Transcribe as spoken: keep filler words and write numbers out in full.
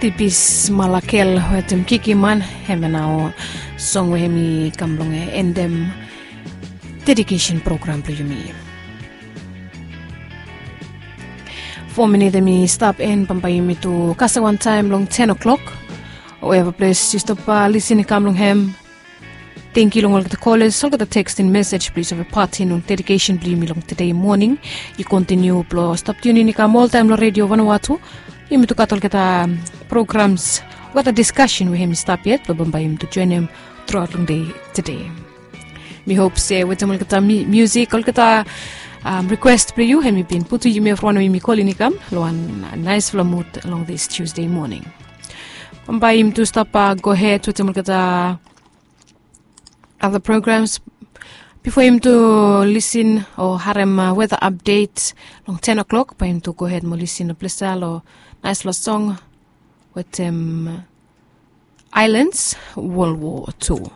Tipis Malakel wetem Kikiman, hemia nao song we hemi kam blong endem dedikesen program blong yumi. Fo minit hemi stap en, bambae yumi tu kasem wantaem long ten o'clock. Wherever ples yu stap lisin i kam long hem, tangkiu long olgeta koles, olgeta teksting mesej blong yu save patin long dedikesen blong yumi long tede moning. Yu kontiniu blong stap tiunin i kam oltaem long redio Vanuatu. Yumi tu gat olgeta programs, olgeta diskasen we hemi stap yet blong bambae yumi tu joenem truaot long dei tede. Mi hop se wetem olgeta miusik, olgeta rikwes blong yu, hemi bin putum yumi evriwan we yumi kolin i kam long wan naesfala mud long dis Tusde moning. Bambae yumi tu stap gohed wetem olgeta other programs. Bifo yumi tu lisin o harem weta apdet long ten o'clock, bae yumi tu gohed mo lisin long ples ya long naesfala song wetem Islands, World War Two.